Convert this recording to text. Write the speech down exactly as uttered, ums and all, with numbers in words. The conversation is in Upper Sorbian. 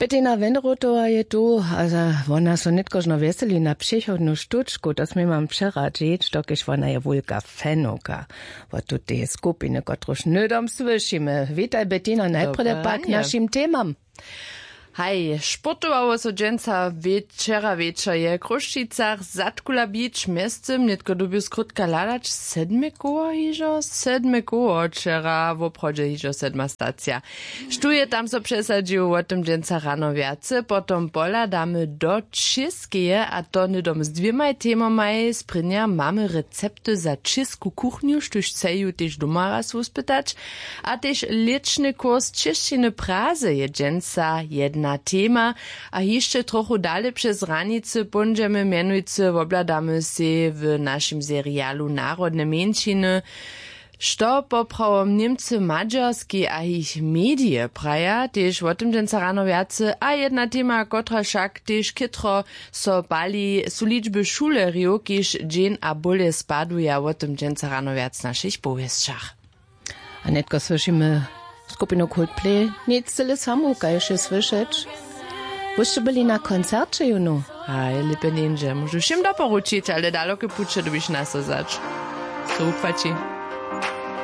Bettina Wenrotowa je tu a wona so nětkožno wjeseli na přechodnu štučku, to smy mam přeradźić, dokelž wona je wulka fenowka wot tuteje skupiny, kotruž hnydom słyšimy. Witaj, Bettina, najprjedy pak k našim temam. Haj, sportowało so dźensa. Wčera wječor je w Chrósćicach zadkula bić, mjeztym nětko dyrbju skrótka hladać, sedme koło hižo sedme koło wčera woprawdźe hižo sedma stacija. Štó je tam so přesadźił, wo tym dźensa rano wjace. Potom pohladamy do čěskeje, a to hnydom z dwěmaj temomaj. Sprěnja mamy recepty za čěsku kuchnju, štóž chceju tež doma raz wuspytać. A tež lěćny kurs čěšćiny prazy je dźensa jedna tema. A hišće trochu dale přez hranicy póńdźemy, mjenujcy wobhladamy sej w našim serialu narodne mjeńšiny, što poprawom Němcy, Madźerski a jich medije praja. Tež wo tym dźensa rano wjace. A jedna tema, kotra wšak tež chětro so pali, su ličby šulerjow, kiž dźeń a bóle spaduja. Wo tym dźensa rano wjac w našich powěsćach. A nětko słyšimy skupinu Coldplay. Nic cyle samu, kaž je słyšeć. Wy sće byli na koncerće jónu? Haj, lěpje njeńdźe. Móžu wšěm doporučić, ale daloke puće dyrbiš nasozać. So wupłaći.